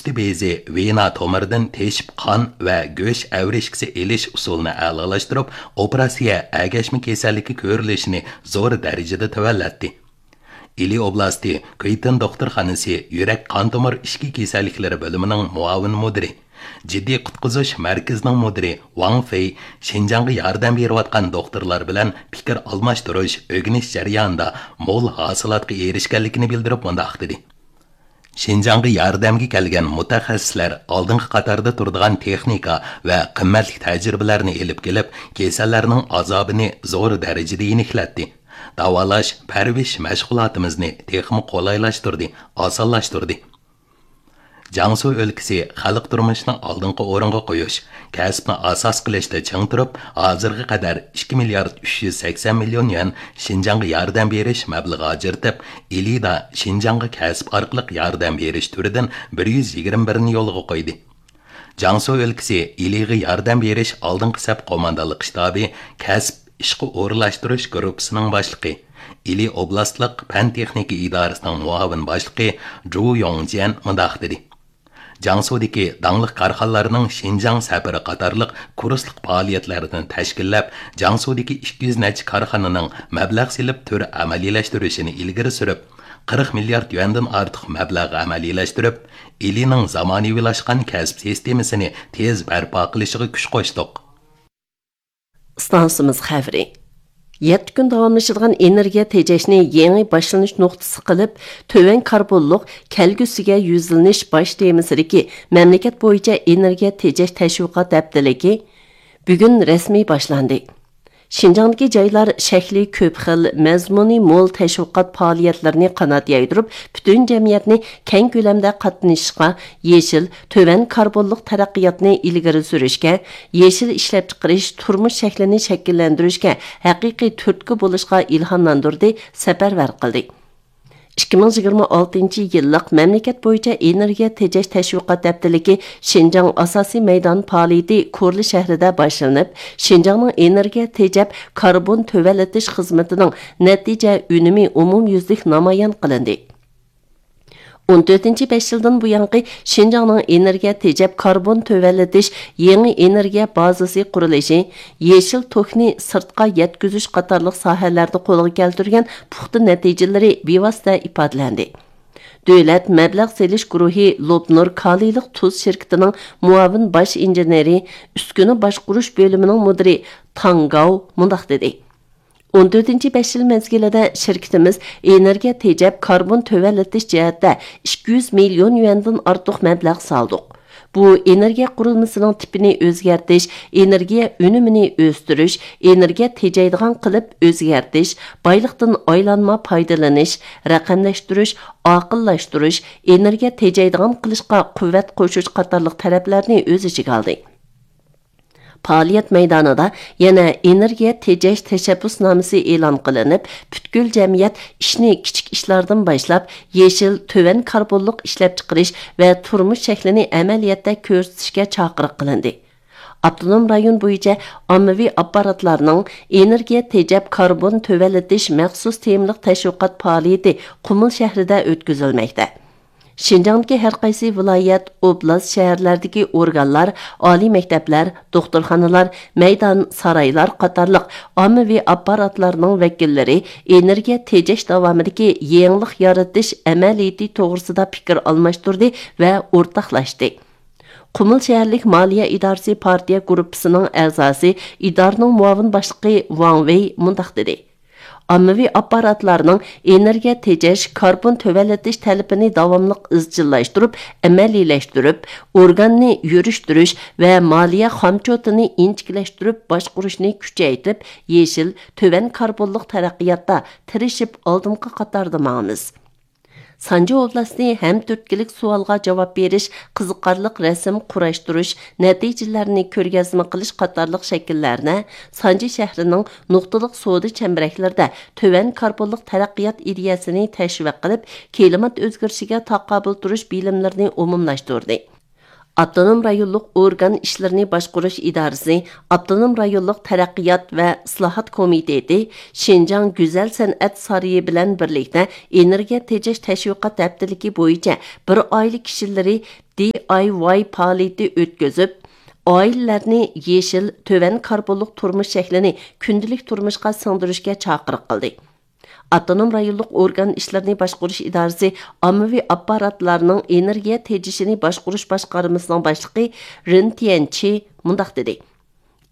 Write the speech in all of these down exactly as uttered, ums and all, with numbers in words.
سۈت بېزى ۋېنا تومۇرىدىن تېشىپ قان ۋە گۆش ئەۋرىشكىسى ئېلىش ئۇسۇلىنى ئەلالاشتۇرۇپ، ئوپېراتسىيە ئەگەشمە كېسەللىكى كۆرۈلۈشىنى زور دەرىجىدە تۆۋەنلەتتى. ئىلى ئوبلاستى كۇيتىن دوختۇرخانىسى يۈرەك قان تومۇر ئىچكى كېسەللىكلىرى بۆلۈمىنىڭ مۇئاۋىن مۇدىرى، جىددىي قۇتقۇزۇش مەركىزىنىڭ مۇدىرى ۋاڭ فېي شىنجاڭغا ياردەم بېرىۋاتقان دوختۇرلار بىلەن پىكىر ئالماشتۇرۇش، ئۆگىنىش جەريانىدا مول ھاسىلاتقا ئېرىشكەنلىكىنى بىلدۈرۈپ مۇنداق دېدى: شىنجاڭغا ياردەمگە كەلگەن مۇتەخەسسىسلەر ئالدىنقى قاتاردا تۇرىدىغان تېخنىكا ۋە قىممەتلىك تەجرىبىلەرنى ئېلىپ كېلىپ، كېسەللەرنىڭ ئازابىنى زور دەرىجىدە يېنىكلەتتى. داۋالاش، پەرۋىش مەشغۇلاتىمىزنى تېخىمۇ قولايلاشتۇردى، ئاسانلاشتۇردى. جياڭسۇ ئۆلكىسى خەلق تۇرمۇشىنى ئالدىنقى ئورۇنغا قويۇش، كەسىپنى ئاساس قىلىشتا چىڭ تۇرۇپ، ھازىرغا قەدەر ئىككى مىليارد ئۈچ يۈز سەكسەن مىليون يۈەن شىنجاڭغا ياردەم بېرىش مەبلىغى ئاجرىتىپ، ئىلىدا شىنجاڭغا كەسىپ ئارقىلىق ياردەم بېرىش تۈرىدىن بىر يۈز يىگىرمە بىرنى يولغا قويدى. جياڭسۇ ئۆلكىسى ئىلىغا ياردەم بېرىش ئالدىنقى سەپ قوماندانلىق شتابى كەسىپ ئىشقا ئورۇنلاشتۇرۇش گۇرۇپپىسىنىڭ باشلىقى، ئىلى ئوبلاستلىق پەن تېخنىكا ئىدارىسىنىڭ مۇئاۋىن باشلىقى جۇ يوڭجيەن مۇنداق دېدى: جياڭسۇدىكى داڭلىق كارخانىلارنىڭ شىنجاڭ سەپىرى قاتارلىق كۇرسلۇق پائالىيەتلەرنى تەشكىللەپ، جياڭسۇدىكى ئىككى يۈز نەچچە كارخانىنىڭ مەبلەغ سېلىپ تۈر ئەمەلىيلەشتۈرۈشىنى ئىلگىرى سۈرۈپ، قىرىق مىليارد يۈەندىن ئارتۇق مەبلەغ ئەمەلىيلەشتۈرۈپ، ئىلىنىڭ زامانىۋىلاشقان كەسىپ سىستېمىسىنى تېز بەرپا قىلىشىغا كۈچ قوشتۇق. ئىستانسىمىز خەۋىرى. يەتتە كۈن داۋاملىشىدىغان ئېنېرگىيە تېجەشنى يېڭى باشلىنىش نۇقتىسى قىلىپ، تۆۋەن كاربونلۇق كەلگۈسىگە يۈزلىنىش باش تېمىسىدىكى مەملىكەت بويىچە ئېنېرگىيە تېجەش تەشۋىقات ھەپتىلىكى بۈگۈن رەسمىي باشلاندى. شىنجاڭدىكى جايلار شەكلى كۆپ خىل، مەزمۇنى مول تەشۋىقات پائالىيەتلىرىنى قانات يايدۇرۇپ، پۈتۈن جەمئىيەتنى كەڭ كۆلەمدە قاتنىشىشقا، يېشىل، تۆۋەن كاربونلۇق تەرەققىياتنى ئىلگىرى سۈرۈشكە، يېشىل ئىشلەپچىقىرىش تۇرمۇش شەكلىنى شەكىللەندۈرۈشكە ھەقىقىي تۈرتكە بولۇشقا ئىلھاملاندۇردى، سەپەرۋەر قىلدى. ئىككى مىڭ يىگىرمە ئالتىنچى يىللىق مەملىكەت بويىچە ئېنېرگىيە تېجەش تەشۋىقات ھەپتىلىكى شىنجاڭ ئاساسىي مەيدان پائالىيىتى كورلا شەھىرىدە باشلىنىپ، شىنجاڭنىڭ ئېنېرگىيە تېجەپ كاربون تۆۋەنلىتىش خىزمىتىنىڭ نەتىجە ئۈنۈمى ئومۇميۈزلۈك نامايان قىلىندى. ئون تۆتىنچى بەش يىلدىن بۇيانقى شىنجاڭنىڭ ئېنېرگىيە تېجەپ كاربون تۆۋەنلىتىش يېڭى ئېنېرگىيە بازىسى قۇرۇلۇشى، يېشىل توكنى سىرتقا يەتكۈزۈش قاتارلىق ساھەلەردە قولغا كەلتۈرگەن پۇختا نەتىجىلىرى بىۋاسىتە ئىپادىلەندى. دۆلەت مەبلەغ سېلىش گۇرۇھى لوپنۇر كالىيلىق تۇز شىركىتىنىڭ مۇئاۋىن باش ئىنژېنېرى، ئۈسكۈنە باشقۇرۇش بۆلۈمىنىڭ مۇدىرى تاڭ گاۋ مۇنداق دېدى: ئون تۆتىنچى بەش يىل مەزگىلىدە شىركىتىمىز ئېنېرگىيە تېجەپ كاربون تۆۋەنلىتىش جەھەتتە ئىككى يۈز مىليون يۈەندىن ئارتۇق مەبلەغ سالدۇق. بۇ ئېنېرگىيە قۇرۇلمىسىنىڭ تىپىنى ئۆزگەرتىش، ئېنېرگىيە ئۈنۈمىنى ئۆستۈرۈش، ئېنېرگىيە تېجەيدىغان قىلىپ ئۆزگەرتىش، بايلىقتىن ئايلانما پايدىلىنىش، رەقەملەشتۈرۈش، ئاقىللاشتۇرۇش، ئېنېرگىيە تېجەيدىغان قىلىشقا قۇۋۋەت قوشۇش قاتارلىق تەرەپلەرنى ئۆز ئىچىگە ئالدى. پائالىيەت مەيدانىدا يەنە ئېنېرگىيە تېجەش تەشەببۇسنامىسى ئېلان قىلىنىپ، پۈتكۈل جەمئىيەت ئىشنى كىچىك ئىشلاردىن باشلاپ، يېشىل، تۆۋەن كاربونلۇق ئىشلەپچىقىرىش ۋە تۇرمۇش شەكلىنى ئەمەلىيەتتە كۆرسىتىشكە چاقىرىق قىلىندى. ئاپتونوم رايون بويىچە ئاممىۋى ئاپپاراتلارنىڭ ئېنېرگىيە تېجەپ كاربون تۆۋەنلىتىش مەخسۇس تېمىلىق تەشۋىقات پائالىيىتى قۇمۇل شەھىرىدە ئۆتكۈزۈلمەكتە. شىنجاڭدىكى ھەر قايسى ۋىلايەت، ئوبلاست، شەھەرلەردىكى ئورگانلار، ئالىي مەكتەپلەر، دوختۇرخانىلار، مەيدان، سارايلار قاتارلىق ئاممىۋى ئاپپاراتلارنىڭ ۋەكىللىرى ئېنېرگىيە تېجەش داۋامىدىكى يېڭىلىق يارىتىش ئەمەلىيىتى توغرىسىدا پىكىر ئالماشتۇردى ۋە ئورتاقلاشتى. قۇمۇل شەھەرلىك مالىيە ئىدارىسى پارتىيە گۇرۇپپىسىنىڭ ئەزاسى، ئىدارىنىڭ مۇئاۋىن باشلىقى ۋاڭ ۋېي مۇنداق دېدى: ئاممىۋى ئاپپاراتلارنىڭ ئېنېرگىيە تېجەش، كاربون تۆۋەنلىتىش تەلىپىنى داۋاملىق ئىزچىللاشتۇرۇپ، ئەمەلىيلەشتۈرۈپ، ئورگاننى يۈرۈشتۈرۈش ۋە مالىيە خامچوتىنى ئىنچىكىلەشتۈرۈپ باشقۇرۇشنى كۈچەيتىپ، يېشىل، تۆۋەن كاربونلۇق تەرەققىياتتا تىرىشىپ ئالدىنقى قاتاردا ماڭىمىز. سانجى ئوبلاستى ھەم تۈرتكىلىك سوئالغا جاۋاب بېرىش، قىزىقارلىق رەسىم قۇراشتۇرۇش، نەتىجىلەرنى كۆرگەزمە قىلىش قاتارلىق شەكىللەرنى سانجى شەھىرىنىڭ نۇقتىلىق سودا چەمبىرەكلىرىدە تۆۋەن كاربونلۇق تەرەققىيات ئىدىيەسىنى تەشۋىق قىلىپ، كىلىمات ئۆزگىرىشىگە تاقابىل تۇرۇش بىلىملىرىنى ئومۇملاشتۇردى. ئاپتونوم رايونلۇق ئورگان ئىشلىرىنى باشقۇرۇش ئىدارىسى، ئاپتونوم رايونلۇق تەرەققىيات ۋە ئىسلاھات كومىتېتى شىنجاڭ گۈزەل سەنئەت سارىيى بىلەن بىرلىكتە ئېنېرگىيە تېجەش تەشۋىقات ھەپتىلىكى بويىچە بىر ئائىلە كىشىلىرى دى ئاي ۋاي پائالىيىتى ئۆتكۈزۈپ، ئائىلىلەرنى يېشىل، تۆۋەن كاربونلۇق تۇرمۇش شەكلىنى كۈندىلىك تۇرمۇشقا سىڭدۈرۈشكە چاقىرىق قىلدى. ئاپتونوم رايونلۇق ئورگان ئىشلىرىنى باشقۇرۇش ئىدارىسى ئاممىۋى ئاپپاراتلارنىڭ ئېنېرگىيە تېجىشىنى باشقۇرۇش باشقارمىسىنىڭ باشلىقى رېن تيەنچى مۇنداق دېدى: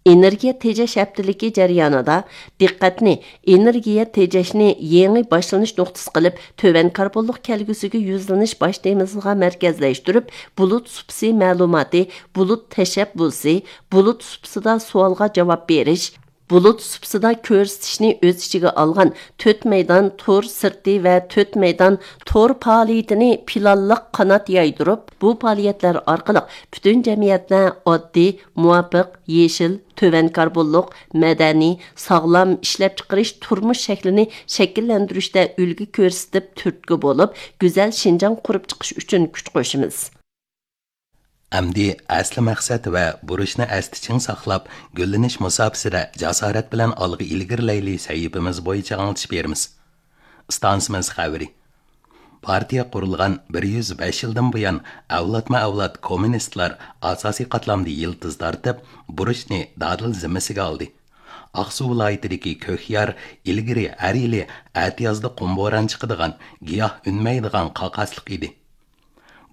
ئېنېرگىيە تېجەش ھەپتىلىكى جەريانىدا دىققەتنى ئېنېرگىيە تېجەشنى يېڭى باشلىنىش نۇقتىسى قىلىپ، تۆۋەن كاربونلۇق كەلگۈسىگە يۈزلىنىش باش تېمىسىغا مەركەزلەشتۈرۈپ، بۇلۇت سۇپىسى مەلۇماتى، بۇلۇت تەشەببۇسى، بۇلۇت سۇپىسىدا سوئالغا جاۋاب بېرىش، بۇلۇت سۇپىسىدا كۆرسىتىشنى ئۆز ئىچىگە ئالغان تۆت مەيدان تور سىرتى ۋە تۆت مەيدان تور پائالىيىتىنى پىلانلىق قانات يايدۇرۇپ، بۇ پائالىيەتلەر ئارقىلىق پۈتۈن جەمئىيەتتە ئاددىي، مۇۋاپىق، يېشىل، تۆۋەن كاربونلۇق، مەدەنىي، ساغلام ئىشلەپچىقىرىش تۇرمۇش شەكلىنى شەكىللەندۈرۈشتە ئۈلگە كۆرسىتىپ، تۈرتكە بولۇپ، گۈزەل شىنجاڭ قۇرۇپ چىقىش ئۈچۈن كۈچ قوشىمىز. ئەمدى ئەسلى مەقسەت ۋە بۇرچنى ئەستە چىڭ ساقلاپ، گۈللىنىش مۇساپىسىدە جاسارەت بىلەن ئالغا ئىلگىرىلەيلى سەھىپىمىز بويىچە ئاڭلىتىش بېرىمىز. ئىستانسىمىز خەۋىرى. پارتىيە قۇرۇلغان بىر يۈز بەش يىلدىن بۇيان، ئەۋلادمۇ ئەۋلاد كوممۇنىستلار ئاساسىي قاتلامدا يىلتىز تارتىپ، بۇرچنى دادىل زىممىسىگە ئالدى. ئاقسۇ ۋىلايىتىدىكى كۆكيار ئىلگىرى ھەر يىلى ئەتىيازدا قۇم بوران چىقىدىغان، گىياھ ئۈنمەيدىغان قاقاسلىق ئىدى.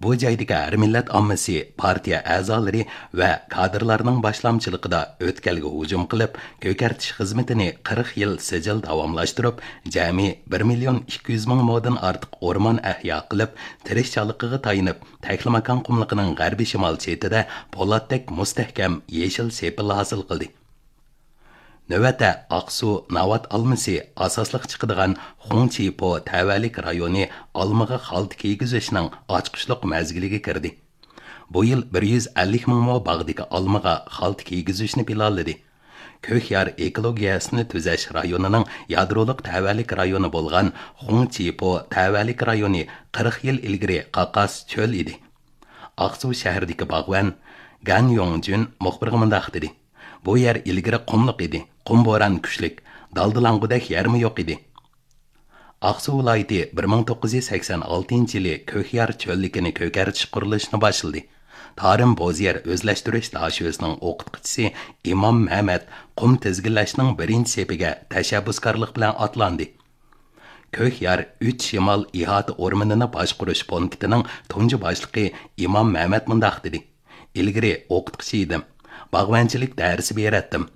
بۇ جايدىكى ھەر مىللەت ئاممىسى، پارتىيە ئەزالىرى ۋە كادىرلارنىڭ باشلامچىلىقىدا ئۆتكەلگە ھۇجۇم قىلىپ، كۆكەرتىش خىزمىتىنى قىرىق يىل سىجىل داۋاملاشتۇرۇپ، جەمئىي بىر مىليون ئىككى يۈز مىڭ مودىن ئارتۇق ئورمان ئەھيا قىلىپ، تىرىشچانلىقىغا تايىنىپ، تەكلىماكان قۇملۇقىنىڭ غەربىي شىمال چېتىدە پولاتتەك مۇستەھكەم يېشىل سېپىل ھاسىل قىلدى. نۆۋەتتە ئاقسۇ ناۋات ئالمىسى ئاساسلىق چىقىدىغان خۇڭچىپو تەۋەلىك رايونى ئالمىغا خالتا كىيگۈزۈشنىڭ ئاچقۇچلۇق مەزگىلىگە كىردى. بۇ يىل بىر يۈز ئەللىك مىڭ مو باغدىكى ئالمىغا خالتا كىيگۈزۈشنى پىلانلىدى. كۆكيار ئېكولوگىيەسىنى تۈزەش رايونىنىڭ يادرولۇق تەۋەلىك رايونى بولغان خۇڭچىپو تەۋەلىك رايونى قىرىق يىل ئىلگىرى قاقاس چۆل ئىدى. ئاقسۇ شەھىرىدىكى باغۋەن گەن يوڭجۈن مۇخبىرغا مۇنداق دېدى: بۇ يەر ئىلگىرى قۇملۇق ئىدى، قۇم بوران كۈچلۈك، دالدىلاڭغۇدەك يەرمۇ يوق ئىدى. ئاقسۇ ۋىلايىتى بىر مىڭ توققۇز يۈز سەكسەن ئالتىنچى يىلى كۆكيار چۆللۈكىنى كۆكەرتىش قۇرۇلۇشىنى باشلىدى. تارىم بوزيەر ئۆزلەشتۈرۈش داشۆسىنىڭ ئوقۇتقۇچىسى ئىمام مەمەت قۇم تىزگىنلەشنىڭ بىرىنچى سېپىگە تەشەببۇسكارلىق بىلەن ئاتلاندى. كۆكيار ئۈچ شىمال ئىھاتە ئورمىنىنى باشقۇرۇش پونكىتىنىڭ تۇنجى باشلىقى ئىمام مەمەت مۇنداق دېدى: ئىلگىرى ئوقۇتقۇچى ئىدىم. باغۋەنچىلىك دەرسى بېرەتتىم.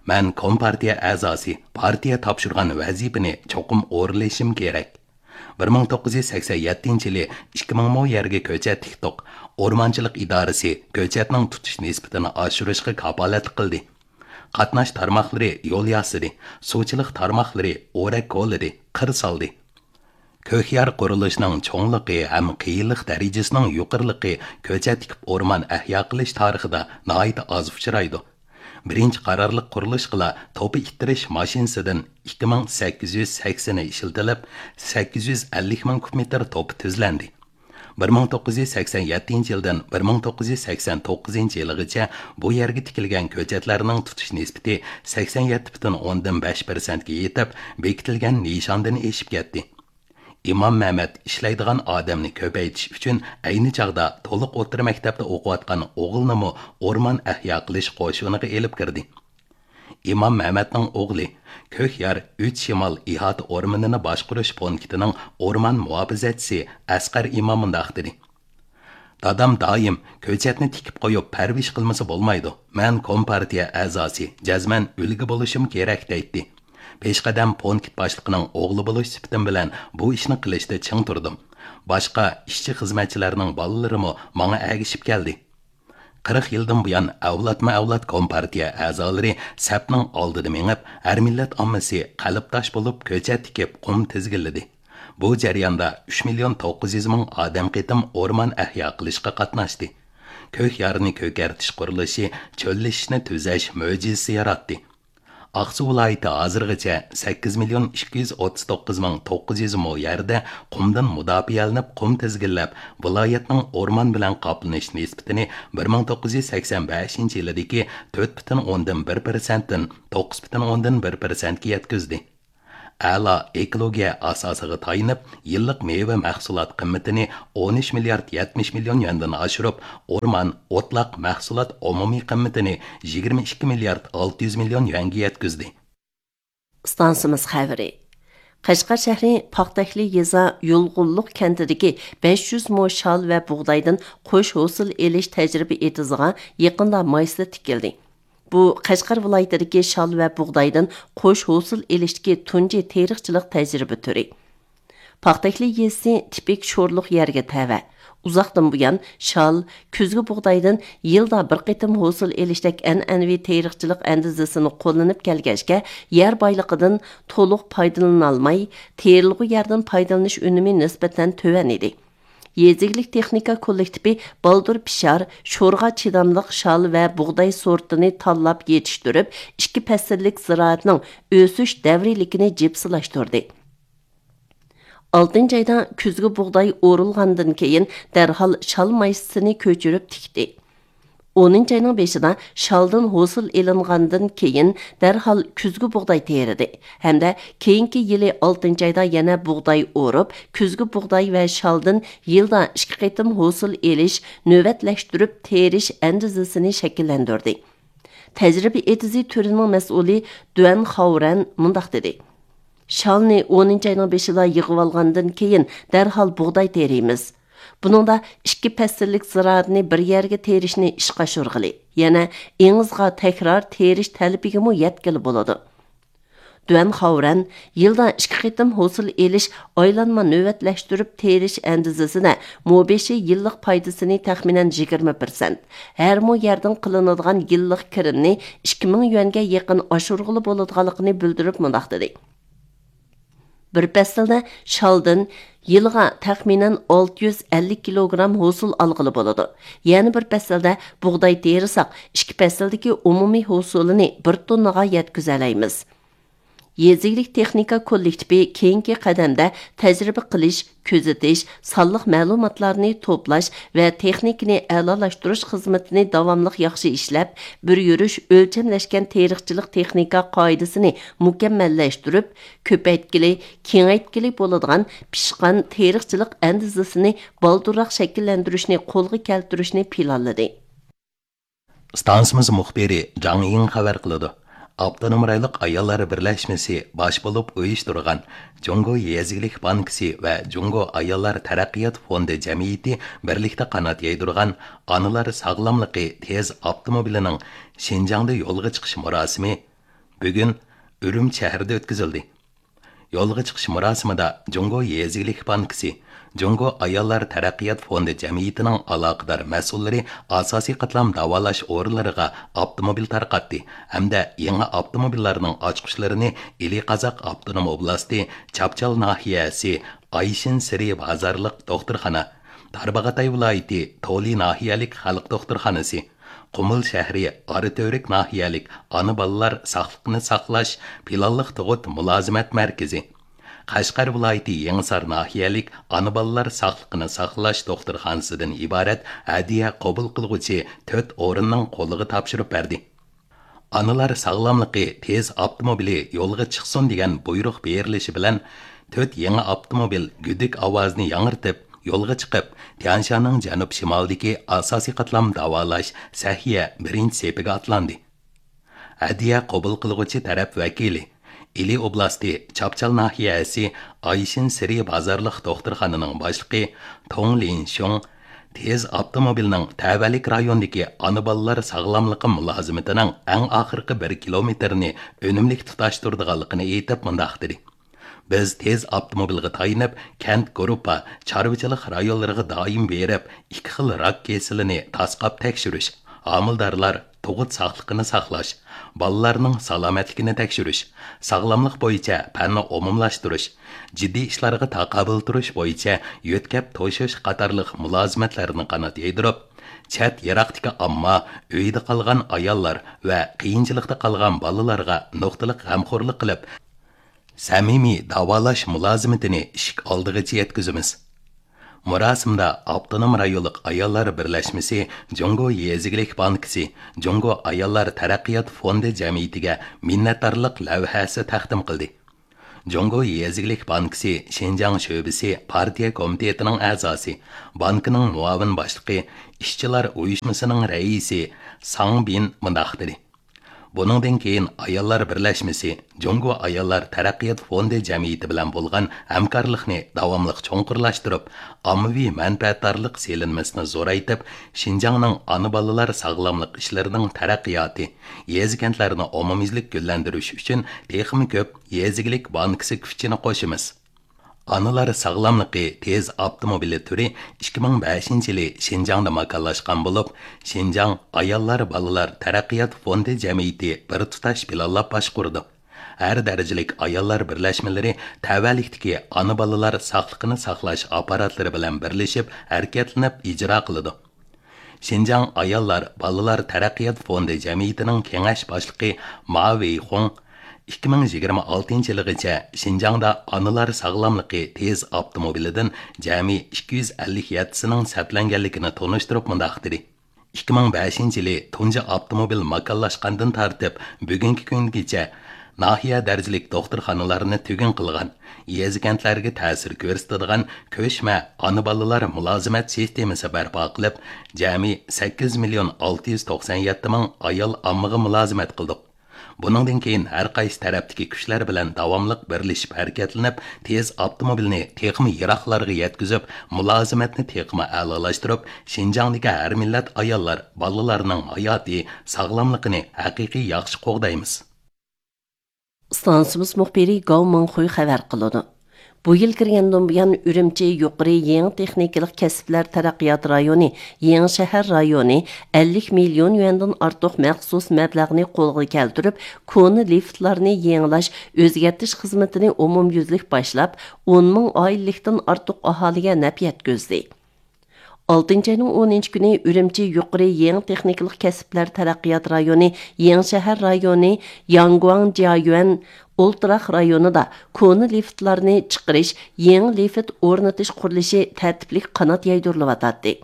مەن كومپارتىيە ئەزاسى، پارتىيە تاپشۇرغان ۋەزىپىنى چوقۇم ئورۇنلىشىم كېرەك. بىر مىڭ توققۇز يۈز سەكسەن يەتتىنچى يىلى ئىككى مىڭ مو يەرگە كۆچەت تىكتۇق. ئورمانچىلىق ئىدارىسى كۆچەتنىڭ تۇتۇش نىسبىتىنى ئاشۇرۇشقا كاپالەتلىك قىلدى. قاتناش تارماقلىرى يول ياسىدى، سۇچىلىق تارماقلىرى ئورەك كولىدى، قىر سالدى. كۆكيار قۇرۇلۇشىنىڭ چوڭلۇقى ھەم قىيىنلىق دەرىجىسىنىڭ يۇقىرىلىقى كۆچەت تىكىپ ئورمان ئەھيا قىلىش تارىخىدا ناھايىتى ئاز ئۇچرايدۇ. بىرىنچى قارارلىق قۇرۇلۇشقىلا توپا ئىتتىرىش ماشىنىسىدىن ئىككى مىڭ سەككىز يۈز سەكسىنى ئىشلىتىلىپ، سەككىز يۈز ئەللىك مىڭ كۇب مېتىر توپا تۈزلەندى. بىر مىڭ توققۇز يۈز سەكسەن يەتتىنچى يىلدىن بىر مىڭ توققۇز يۈز سەكسەن توققۇزىنچى يىلىغىچە بۇ يەرگە تىكىلگەن كۆچەتلەرنىڭ تۇتۇش نىسبىتى سەكسەن يەتتە پۈتۈن ئوندىن بەش پىرسەنتكە يېتىپ، بېكىتىلگەن نىشاندىن ئېشىپ كەتتى. ئىمام مەمەت ئىشلەيدىغان ئادەمنى كۆپەيتىش ئۈچۈن ئەينى چاغدا تولۇق ئوتتۇرا مەكتەپتە ئوقۇۋاتقان ئوغلىنىمۇ ئورمان ئەھيا قىلىش قوشۇنىغا ئېلىپ كىردى. ئىمام مەمەتنىڭ ئوغلى، كۆكيار ئۈچ شىمال ئىھاتە ئورمىنىنى باشقۇرۇش پونكىتىنىڭ ئورمان مۇھاپىزەتچىسى ئەسقەر ئىمام مۇنداق دېدى: دادام دائىم كۆچەتنى تىكىپ قويۇپ پەرۋىش قىلمىسا بولمايدۇ. مەن كومپارتىيە ئەزاسى، جەزمەن ئۈلگە بولۇشۇم كېرەك دەيتتى. پېشقەدەم پونكىت باشلىقىنىڭ ئوغلى بولۇش سۈپىتىم بىلەن بۇ ئىشنى قىلىشتا چىڭ تۇردۇم. باشقا ئىشچى خىزمەتچىلەرنىڭ بالىلىرىمۇ ماڭا ئەگىشىپ كەلدى. قىرىق يىلدىن بۇيان ئەۋلادمۇ ئەۋلاد كومپارتىيە ئەزالىرى سەپنىڭ ئالدىدا مېڭىپ، ھەر مىللەت ئاممىسى قەلبداش بولۇپ كۆچەت تىكىپ قۇم تىزگىنلىدى. بۇ جەرياندا ئۈچ مىليون توققۇز يۈز مىڭ ئادەم قېتىم ئورمان ئەھيا قىلىشقا قاتناشتى. كۆكيارنى كۆكەرتىش قۇرۇلۇشى چۆللىشىشنى تۈزەش مۆجىزىسى ياراتتى. ئاقسۇ ۋىلايىتى ھازىرغىچە سەككىز مىليون ئىككى يۈز ئوتتۇز توققۇز مىڭ توققۇز يۈز مو يەردە قۇمدىن مۇداپىئەلىنىپ، قۇم تىزگىنلەپ، ۋىلايەتنىڭ ئورمان بىلەن قاپلىنىش نىسبىتىنى بىر مىڭ توققۇز يۈز سەكسەن بەشىنچى يىلىدىكى تۆت پۈتۈن ئوندىن بىر پىرسەنتتىن توققۇز پۈتۈن ئوندىن بىر پىرسەنتكە يەتكۈزدى. ئەلا ئېكولوگىيە ئاساسىغا تايىنىپ، يىللىق مېۋە مەھسۇلات قىممىتىنى ئون ئۈچ مىليارد يەتمىش مىليون يۈەندىن ئاشۇرۇپ، ئورمان، ئوتلاق مەھسۇلات ئومۇمىي قىممىتىنى يىگىرمە ئىككى مىليارد ئالتە يۈز مىليون يۈەنگە يەتكۈزدى. ئىستانسىمىز خەۋىرى. قەشقەر شەھىرى پاختەكلى يېزا يۇلغۇنلۇق كەنتىدىكى بەش يۈز مو شال ۋە بۇغدايدىن قوش ھوسۇل ئېلىش تەجرىبە ئېتىزىغا يېقىندا مايسىلى تىكىلدى. بۇ قەشقەر ۋىلايىتىدىكى شال ۋە بۇغدايدىن قوش ھوسۇل ئېلىشتىكى تۇنجى تېرىقچىلىق تەجرىبە تۈرى. پاختەكلى يېزىسى تىپىك شورلۇق يەرگە تەۋە. ئۇزاقتىن بۇيان شال، كۈزگى بۇغدايدىن يىلدا بىر قېتىم ھوسۇل ئېلىشتەك ئەنئەنىۋى تېرىقچىلىق ئەندىزىسىنى قوللىنىپ كەلگەچكە، يەر بايلىقىدىن تولۇق پايدىلىنالماي، تېرىلغۇ يەردىن پايدىلىنىش ئۈنۈمى نىسبەتەن تۆۋەن ئىدى. يېزا ئىگىلىك تېخنىكا كوللېكتىپى بالدۇر پىشار، شورغا چىداملىق شال ۋە بۇغداي سورتىنى تاللاپ يېتىشتۈرۈپ، ئىككى پەسىللىك زىرائەتنىڭ ئۆسۈش دەۋرىيلىكىنى جىپسىلاشتۇردى. ئالتىنچى ئايدا كۈزگى بۇغداي ئورۇلغاندىن كېيىن، دەرھال شال مايسىسىنى كۆچۈرۈپ تىكتى. ئونىنچى ئاينىڭ بېشىدا شالدىن ھوسۇل ئېلىنغاندىن كېيىن، دەرھال كۈزگى بۇغداي تېرىدى ھەمدە كېيىنكى يىلى ئالتىنچى ئايدا يەنە بۇغداي ئورۇپ، كۈزگى بۇغداي ۋە شالدىن يىلدا ئىككى قېتىم ھوسۇل ئېلىش، نۆۋەتلەشتۈرۈپ تېرىش ئەندىزىسىنى شەكىللەندۈردى. تەجرىبە ئېتىزى تۈرىنىڭ مەسئۇلى دۈەن خاۋرەن مۇنداق دېدى: شالنى ئونىنچى ئاينىڭ بېشىدا يىغىۋالغاندىن كېيىن، دەرھال بۇغداي تېرىيمىز. بۇنىڭدا ئىككى پەسىللىك زىرائەتنى بىر يەرگە تېرىشنى ئىشقا ئاشۇرغىلى، يەنە ئېڭىزغا تەكرار تېرىش تەلىپىگىمۇ يەتكىلى بولىدۇ. دۈەن خاۋرەن يىلدا ئىككى قېتىم ھوسۇل ئېلىش، ئايلانما نۆۋەتلەشتۈرۈپ تېرىش ئەندىزىسىدە مو بېشى يىللىق پايدىسىنى تەخمىنەن يىگىرمە پىرسەنت، ھەر مو يەردىن قىلىنىدىغان يىللىق كىرىمنى ئىككى مىڭ يۈەنگە يېقىن ئاشۇرغىلى بولىدىغانلىقىنى بىلدۈرۈپ مۇنداق دېدى: بىر پەسىلدە شالدىن يىلىغا تەخمىنەن ئالتە يۈز ئەللىك كىلوگرام ھوسۇل ئالغىلى بولىدۇ. يەنە بىر پەسىلدە بۇغداي تېرىساق، ئىككى پەسىلدىكى ئومۇمىي ھوسۇلىنى بىر توننىغا يەتكۈزەلەيمىز. يېزا ئىگىلىك تېخنىكا كوللېكتىپى كېيىنكى قەدەمدە تەجرىبە قىلىش، كۆزىتىش، سانلىق مەلۇماتلارنى توپلاش ۋە تېخنىكىنى ئەلالاشتۇرۇش خىزمىتىنى داۋاملىق ياخشى ئىشلەپ، بىر يۈرۈش ئۆلچەملەشكەن تېرىقچىلىق تېخنىكا قائىدىسىنى مۇكەممەللەشتۈرۈپ، كۆپەيتكىلى، كېڭەيتكىلى بولىدىغان پىشقان تېرىقچىلىق ئەندىزىسىنى بالدۇرراق شەكىللەندۈرۈشنى قولغا كەلتۈرۈشنى پىلانلىدى. ئىستانسىمىز مۇخبىرى جاڭ يىڭ خەۋەر قىلىدۇ. ئاپتونوم رايونلۇق ئاياللار بىرلەشمىسى باش بولۇپ ئۇيۇشتۇرغان جۇڭگو يېزا ئىگىلىك بانكىسى ۋە جۇڭگو ئاياللار تەرەققىيات فوندى جەمئىيىتى بىرلىكتە قانات يايدۇرغان ئانىلار ساغلاملىقى تېز ئاپتوموبىلىنىڭ شىنجاڭدا يولغا چىقىش مۇراسىمى بۈگۈن ئۈرۈمچى شەھىرىدە ئۆتكۈزۈلدى. يولغا چىقىش مۇراسىمىدا جۇڭگو يېزا ئىگىلىك بانكىسى، جۇڭگو ئاياللار تەرەققىيات فوندى جەمئىيىتىنىڭ ئالاقىدار مەسئۇللىرى ئاساسىي قاتلام داۋالاش ئورۇنلىرىغا ئاپتوموبىل تارقاتتى ھەمدە يېڭى ئاپتوموبىللارنىڭ ئاچقۇچلىرىنى ئىلى قازاق ئاپتونوم ئوبلاستى چاپچال ناھىيەسى ئايشىن سىرى بازارلىق دوختۇرخانا، تارباغاتاي ۋىلايىتى تولى ناھىيەلىك خەلق دوختۇرخانىسى، قۇمۇل شەھىرى ئاراتۈرك ناھىيەلىك ئانا بالىلار ساقلىقىنى ساقلاش پىلانلىق تۇغۇت مۇلازىمەت مەركىزى، قەشقەر ۋىلايىتى يېڭىسار ناھىيەلىك ئانا بالىلار ساقلىقىنى ساقلاش دوختۇرخانىسىدىن ئىبارەت ھەدىيە قوبۇل قىلغۇچى تۆت ئورۇننىڭ قولىغا تاپشۇرۇپ بەردى. ئانىلار ساغلاملىقى تېز ئاپتوموبىلى يولغا چىقسۇن دېگەن بۇيرۇق بېرىلىشى بىلەن، تۆت يېڭى ئاپتوموبىل گۈدۈك ئاۋازىنى ياڭرىتىپ، يولغا چىقىپ، تيەنشاننىڭ جەنۇب شىمالىدىكى ئاساسىي قاتلام داۋالاش سەھىيە بىرىنچى سېپىگە ئاتلاندى. ھەدىيە قوبۇل قىلغۇچى تەرەپ ۋەكىلى، ئىلى ئوبلاستى چاپچال ناھىيەسى ئايشىن سىرى بازارلىق دوختۇرخانىنىڭ باشلىقى توڭ لىنشۇڭ تېز ئاپتوموبىلنىڭ تەۋەلىك رايوندىكى ئانا بالىلار ساغلاملىقى مۇلازىمىتىنىڭ ئەڭ ئاخىرقى بىر كىلومېتىرىنى ئۈنۈملۈك تۇتاشتۇرىدىغانلىقىنى ئېيتىپ مۇنداق دېدى: بىز تېز ئاپتوموبىلغا تايىنىپ، كەنت گۇرۇپپا، چارۋىچىلىق رايونلىرىغا دائىم بېرىپ، ئىككى خىل راك كېسىلىنى تاسقاپ تەكشۈرۈش، ھامىلىدارلار، تۇغۇت ساقلىقىنى ساقلاش، بالىلارنىڭ سالامەتلىكىنى تەكشۈرۈش، ساغلاملىق بويىچە پەننى ئومۇملاشتۇرۇش، جىددىي ئىشلارغا تاقابىل تۇرۇش بويىچە يۆتكەپ توشۇش قاتارلىق مۇلازىمەتلەرنى قانات يايدۇرۇپ، چەت يىراقتىكى ئامما، ئۆيدە قالغان ئاياللار ۋە قىيىنچىلىقتا قالغان بالىلارغا نۇقتىلىق غەمخورلۇق قىلىپ، سەمىمىي داۋالاش مۇلازىمىتىنى ئىشىك ئالدىغىچە يەتكۈزىمىز. مۇراسىمدا ئاپتونوم رايونلۇق ئاياللار بىرلەشمىسى جۇڭگو يېزا ئىگىلىك بانكىسى جۇڭگو ئاياللار تەرەققىيات فوندى جەمئىيىتىگە مىننەتدارلىق لەۋھەسى تەقدىم قىلدى. جۇڭگو يېزا ئىگىلىك بانكىسى شىنجاڭ شۆبىسى پارتىيە كومىتېتىنىڭ ئەزاسى، بانكىنىڭ مۇئاۋىن باشلىقى، ئىشچىلار ئۇيۇشمىسىنىڭ رەئىسى ساڭ بىن مۇنداق دېدى: بۇنىڭدىن كېيىن ئاياللار بىرلەشمىسى جۇڭگو ئاياللار تەرەققىيات فوندى جەمئىيىتى بىلەن بولغان ھەمكارلىقنى داۋاملىق چوڭقۇرلاشتۇرۇپ، ئاممىۋى مەنپەئەتدارلىق سېلىنمىسىنى زورايتىپ، شىنجاڭنىڭ ئانا بالىلار ساغلاملىق ئىشلىرىنىڭ تەرەققىياتى، يېزا كەنتلەرنى ئومۇميۈزلۈك گۈللەندۈرۈش ئۈچۈن تېخىمۇ كۆپ يېزا ئىگىلىك بانكىسى كۈچىنى قوشىمىز. ئانىلار ساغلاملىقى تېز ئاپتوموبىلى تۈرى ئىككى مىڭ بەشىنچى يىلى شىنجاڭدا ماكانلاشقان بولۇپ، شىنجاڭ ئاياللار بالىلار تەرەققىيات فوندى جەمئىيىتى بىر تۇتاش پىلانلاپ باشقۇرىدۇ. ھەر دەرىجىلىك ئاياللار بىرلەشمىلىرى تەۋەلىكتىكى ئانا بالىلار ساقلىقىنى ساقلاش ئاپپاراتلىرى بىلەن بىرلىشىپ ھەرىكەتلىنىپ ئىجرا قىلىدۇ. شىنجاڭ ئاياللار، بالىلار تەرەققىيات فوندى جەمئىيىتىنىڭ كېڭەش باشلىقى ما ۋېيخۇڭ ئىككى مىڭ يىگىرمە ئالتىنچى يىلىغىچە شىنجاڭدا ئانىلار ساغلاملىقى تېز ئاپتوموبىلىدىن جەمئىي ئىككى يۈز ئەللىك يەتتىسىنىڭ سەپلەنگەنلىكىنى تونۇشتۇرۇپ مۇنداق دېدى: ئىككى مىڭ بەشىنچى يىلى تۇنجى ئاپتوموبىل ماكانلاشقاندىن تارتىپ بۈگۈنكى كۈنگىچە ناھىيە دەرىجىلىك دوختۇرخانىلارنى تۈگۈن قىلغان، يېزا كەنتلەرگە تەسىر كۆرسىتىدىغان كۆچمە ئانا بالىلار مۇلازىمەت سىستېمىسى بەرپا قىلىپ، جەمئىي سەككىز مىليون ئالتە يۈز توقسان يەتتە مىڭ ئايال ئاممىغا مۇلازىمەت قىلدۇق. بۇنىڭدىن كېيىن ھەر قايسى تەرەپتىكى كۈچلەر بىلەن داۋاملىق بىرلىشىپ ھەرىكەتلىنىپ، تېز ئاپتوموبىلنى تېخىمۇ يىراقلارغا يەتكۈزۈپ، مۇلازىمەتنى تېخىمۇ ئەلالاشتۇرۇپ، شىنجاڭدىكى ھەر مىللەت ئاياللار، بالىلارنىڭ ھاياتى، ساغلاملىقىنى ھەقىقىي ياخشى قوغدايمىز. ئىستانسىمىز مۇخبىرى گاۋ مىڭخۇي خەۋەر قىلىدۇ. بۇ يىل كىرگەندىن بۇيان، ئۈرۈمچى يۇقىرى يېڭى تېخنىكىلىق كەسىپلەر تەرەققىيات رايونى، يېڭىشەھەر رايونى ئەللىك مىليون يۈەندىن ئارتۇق مەخسۇس مەبلەغنى قولغا كەلتۈرۈپ، كونا لىفتلارنى يېڭىلاش، ئۆزگەرتىش خىزمىتىنى ئومۇميۈزلۈك باشلاپ، ئون مىڭ ئائىلىلىكتىن ئارتۇق ئاھالىگە نەپ يەتكۈزدى. ئالتىنچى ئاينىڭ ئونىنچى كۈنى ئۈرۈمچى يۇقىرى يېڭى تېخنىكىلىق كەسىپلەر تەرەققىيات رايونى، يېڭىشەھەر رايونى، ياڭگۇاڭ جيايۈەن ئولتۇراق رايونىدا كونا لىفتلارنى چىقىرىش، يېڭى لىفت ئورنىتىش قۇرۇلۇشى تەرتىپلىك قانات يايدۇرۇلۇۋاتاتتى.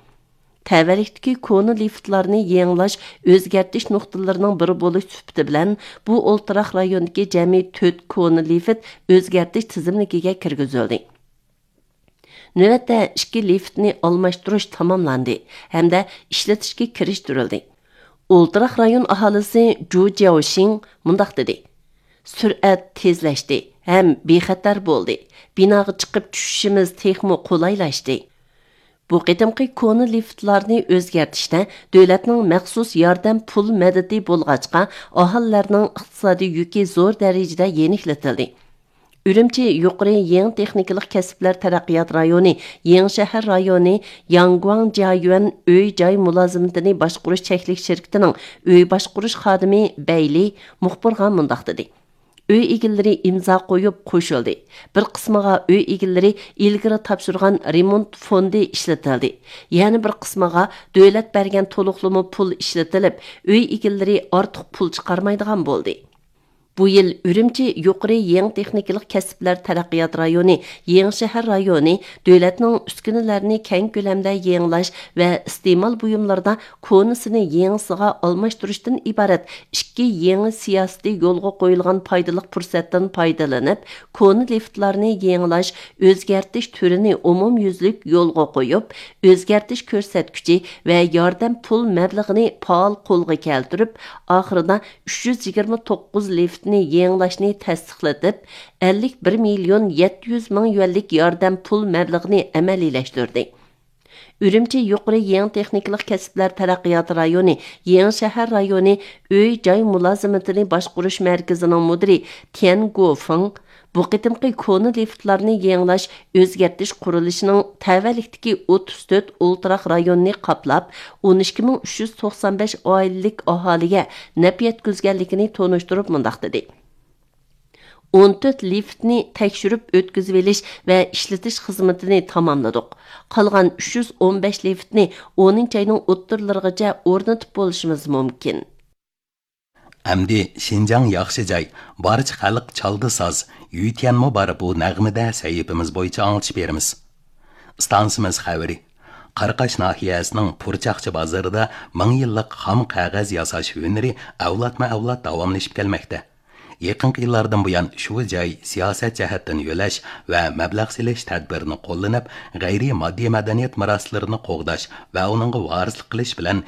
تەۋەلىكتىكى كونا لىفتلارنى يېڭىلاش، ئۆزگەرتىش نۇقتىلىرىنىڭ بىرى بولۇش سۈپىتى بىلەن، بۇ ئولتۇراق رايوندىكى جەمئىي تۆت كونا لىفت ئۆزگەرتىش تىزىملىكىگە كىرگۈزۈلدى. نۆۋەتتە ئىككى لىفتنى ئالماشتۇرۇش تاماملاندى ھەمدە ئىشلىتىشكە كىرىشتۈرۈلدى. ئولتۇراق رايون ئاھالىسى جۇ جياۋشىڭ مۇنداق دېدى: سۈرئەت تېزلەشتى ھەم بىخەتەر بولدى. بىناغا چىقىپ چۈشۈشىمىز تېخىمۇ قولايلاشتى. بۇ قېتىمقى كونا لىفتلارنى ئۆزگەرتىشتە دۆلەتنىڭ مەخسۇس ياردەم پۇل مەدىتى بولغاچقا، ئاھالىلەرنىڭ ئىقتىسادىي يۈكى زور دەرىجىدە يېنىكلىتىلدى. ئۈرۈمچى يۇقىرى يېڭى تېخنىكىلىق كەسىپلەر تەرەققىيات رايونى، يېڭىشەھەر رايونى، ياڭگۇاڭ جيايۈەن ئۆي جاي مۇلازىمىتىنى باشقۇرۇش چەكلىك شىركىتىنىڭ ئۆي باشقۇرۇش خادىمى بەيلى مۇخبىرغا مۇنداق دېدى: ئۆي ئىگىلىرى ئىمزا قويۇپ قوشۇلدى. بىر قىسمىغا ئۆي ئىگىلىرى ئىلگىرى تاپشۇرغان رېمونت فوندى ئىشلىتىلدى. يەنە بىر قىسمىغا دۆلەت بەرگەن تولۇقلىما پۇل ئىشلىتىلىپ، ئۆي ئىگىلىرى ئارتۇق پۇل چىقارمايدىغان بولدى. بۇ يىل ئۈرۈمچى يۇقىرى يېڭى تېخنىكىلىق كەسىپلەر تەرەققىيات رايونى، يېڭىشەھەر رايونى دۆلەتنىڭ ئۈسكۈنىلەرنى كەڭ كۆلەمدە يېڭىلاش ۋە ئىستېمال بۇيۇملىرىدا كونىسىنى يېڭىسىغا ئالماشتۇرۇشتىن ئىبارەت ئىككى يېڭى سىياسىتى يولغا قويۇلغان پايدىلىق پۇرسەتتىن پايدىلىنىپ، كونا لىفتلارنى يېڭىلاش، ئۆزگەرتىش تۈرىنى ئومۇميۈزلۈك يولغا قويۇپ، ئۆزگەرتىش كۆرسەتكۈچى ۋە ياردەم پۇل مەبلىغىنى پائال قولغا كەلتۈرۈپ، ئاخىرىدا ئۈچ يۈز يىگىرمە توققۇز لىفتنى يېڭىلاشنى تەستىقلىتىپ، ئەللىك بىر مىليون يەتتە يۈز مىڭ يۈەنلىك ياردەم پۇل مەبلىغىنى ئەمەلىيلەشتۈردى. ئۈرۈمچى يۇقىرى يېڭى تېخنىكىلىق كەسىپلەر تەرەققىيات رايونى، يېڭى شەھەر رايونى ئۆي جاي مۇلازىمىتىنى باشقۇرۇش مەركىزىنىڭ مۇدىرى تيەن گوفېڭ بۇ قېتىمقى كونا لىفتلارنى يېڭىلاش، ئۆزگەرتىش قۇرۇلۇشىنىڭ تەۋەلىكتىكى ئوتتۇز تۆت ئولتۇراق رايوننى قاپلاپ، ئون ئىككى مىڭ ئۈچ يۈز توقسان بەش ئائىلىلىك ئاھالىگە نەپ يەتكۈزگەنلىكىنى تونۇشتۇرۇپ مۇنداق دېدى: ئون تۆت لىفتنى تەكشۈرۈپ ئۆتكۈزۈۋېلىش ۋە ئىشلىتىش خىزمىتىنى تاماملىدۇق. قالغان ئۈچ يۈز ئون بەش لىفتنى ئونىنچى ئاينىڭ ئوتتۇرىلىرىغىچە ئورنىتىپ بولۇشىمىز مۇمكىن. ئەمدى شىنجاڭ ياخشى جاي، بارچە خەلق چالدى ساز، يۈيتيەنمۇ بار بۇ نەغمىدە سەھىپىمىز بويىچە ئاڭلىتىش بېرىمىز. ئىستانسىمىز خەۋىرى. قاراقاش ناھىيەسىنىڭ پۇرچاقچى بازىرىدا مىڭ يىللىق خام قەغەز ياساش ھۈنىرى ئەۋلادمۇ ئەۋلاد داۋاملىشىپ كەلمەكتە. يېقىنقى يىللاردىن بۇيان شۇ جاي سىياسەت جەھەتتىن يۆلەش ۋە مەبلەغ سېلىش تەدبىرىنى قوللىنىپ، غەيرىي ماددىي مەدەنىيەت مىراسلىرىنى قوغداش ۋە ئۇنىڭغا ۋارىسلىق قىلىش بىلەن